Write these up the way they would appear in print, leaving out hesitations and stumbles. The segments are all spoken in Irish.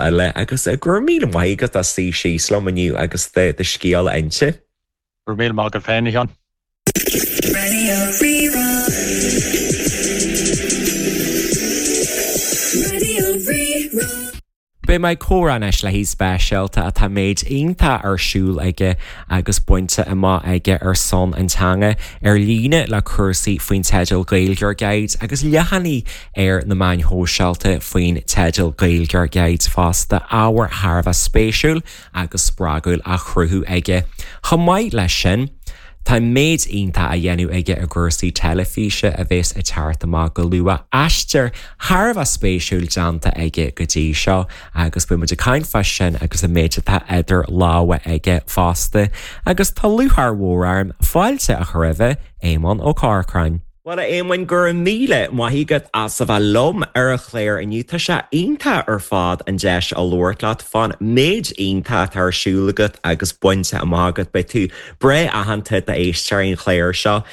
Eile agus go raibh míle maith agat as suí síos liom inniu agus do scéal a inse. Go raibh míle maith agat féin, a Sheáin. Raidió Rí-Rá. Raidió Rí-Rá. Beidh mé ag comhrá anois le haoi speisialta atá méid iontach ar siúl aige agus bainte amach aige ar son an teanga ar líne le cúrsaí faoin teideal Gaeilgeoir Guide agus leathanaigh ar na meáin shóisialta faoin teideal Gaeilgeoir Guide fosta, ábhar thar a bheith spéisiúil agus spreagúil á chruthú aige. Chomh maith leis sin, tá méid iontach á dhéanamh aige i gcúrsaí teilifíse a bheas ag teacht amach go luath, aistear thar a bheith spéisiúil déanta aige go dtí seo agus beidh muid ag caint fá sin agus an méid atá idir lámha aige fosta. Agus tá lúcháir mhór orm fáilte a chur roimhe, Éamonn Ó Corcráin. Bhuel, a Éamoinn, go raibh míle maith agat as a bheith liom ar an chlár inniu. Tá sé iontach ar fad an deis a labhairt leat fán méid iontach atá ar siúl agat agus bainte amach agat. Beidh tú breá aitheanta d'éisteoirí an chláir seo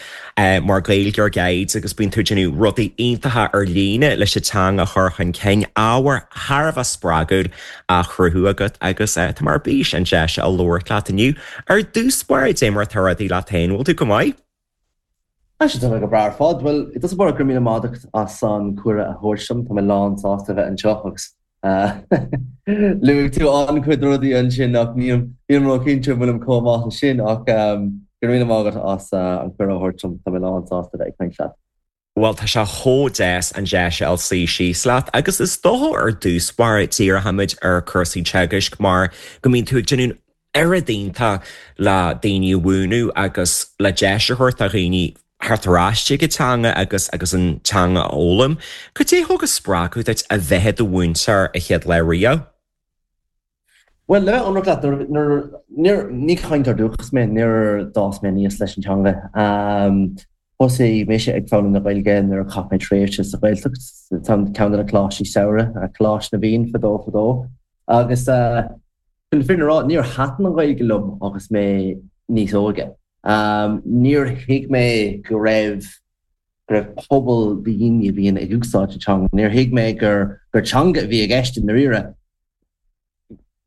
mar Gaeilgeoir Guide agus bíonn tú ag déanamh rudaí iontacha ar líne leis an teanga a chur chun cinn, ábhar thar a bheith spreagúil á chruthú agat agus tá mé ar bís an deis a labhairt leat inniu. Ar dtús báire, dé mar atá rudaí leat féin, bhfuil tú go maith? Tá sé tá mé go breá ar fad. Bhuel, i dtosach báire, go raibh míle maith agat as an cuireadh a thabhairt dom. Tá mé lán sásta a bheith anseo agus luaigh tú an-chuid rudaí ansin ach nílim nílim ró-chinnte an bhfuilim chomh maith leis sin ach go raibh míle maith agat as an cuireadh a thabhairt dom. Tá mé lán sásta a bheith ag caint leat. Bhuel, tá sé chomh deas an deis a fháil suí síos leat agus is dócha ar dtús báire díreoimid ar cúrsaí teagaisc mar go mbíonn tú ag déanamh oiread iontach le daoine a mhúineadh agus le deis a thabhairt do dhaoine theacht ar ais chuig an teanga agus agus an teanga a fhoghlaim. Cad é a thug an spreagadh duit a bheith i do mhúinteoir a chéad lá riamh? Bhuel, le bheith ionraic leat, nuair, níor, ní cainteoir dúchais mé, níor d'fhás mé aníos leis an teanga. Thosaigh mise ag foghlaim na Gaeilge nuair a chaith mé tréimhse sa Ghaeltacht, ceann de na coláistí samhraidh, Coláiste na bhFiann fadó fadó. Agus chun na fírinne a rá, níor thaitin an Ghaeilge liom agus mé níos óige. Níor thuig mé go raibh go raibh pobal daoine a bhíonn ag úsáid na teanga. Níor thuig mé gur gur teanga a bhí i gceist i ndáiríre.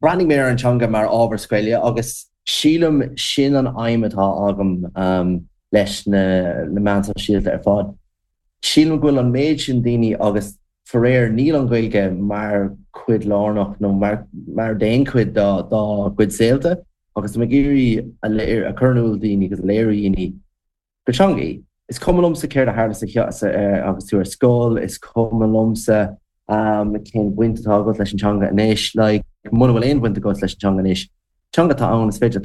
Bhreathnaigh mé ar an teanga mar ábhar scoile agus sílim sin an aidhm atá agam leis na meáin sóisialta ar fad. Sílim go bhfuil an méid sin daoine agus faraor níl an Ghaeilge mar chuid lárnach nó mar mar d'aon chuid dá dá gcuid saolta agus tá mé ag iarraidh a chur in iúl daoine agus a léiriú daoine gur teanga í. Is cuma liomsa céard a tharla sa agus tú ar scoil, is cuma liomsa cén bhaint atá agat leis an teanga anois, like, muna bhfuil aon bhaint agat leis an teanga anois, teanga atá ann, is féidir.